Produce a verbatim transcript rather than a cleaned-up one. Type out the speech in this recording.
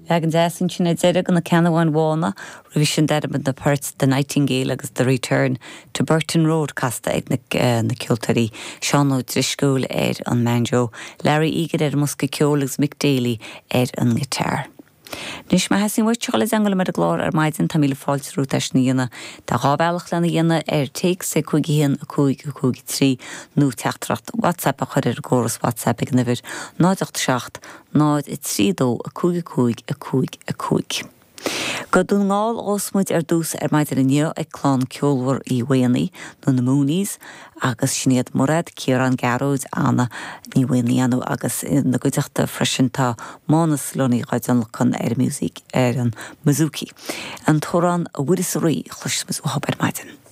Leagan deas ansin ar deireadh de Na Ceannabháin Bhána roimhe sin d'airigh muid na poirt The Nightingale agus The Return to Burton Road casta ag na, uh, na ceoltóirí Seán Ó Drisceoil ar an mbanjo, Larry Egan ar an mbosca ceoil agus Mick Daly ar an ngiotár. Anois má theastaíonn uait dul i dteagmháil liom ar an gclár ar maidin tá míle fáilte romhat é sin a dhéanamh Tá dhá bhealach lena dhéanamh ar téacs ag cúig haon a cúig a cúig trí nó teachtaireacht WhatsApp a chur ar an gcóras WhatsApp ag an uimhir náid ocht seacht náid a trí dó a cúig a cúig a cúig a cúig. Go Dún na nGall a ghabhfas muid ar dtús ar maidin inniu ag clann ceolmhar Uí Mhaonaigh nó na Moonies agus sin iad Mairéad Ciarán Gearóid Anna Ní Mhaonaigh agus na gcuideachta freisin tá Mánas Lunny á dtionlacan ar music ar an bouzouki. An t-amhrán A Mhuire 's a Rí a chloisfidh muid uathu ar maidin.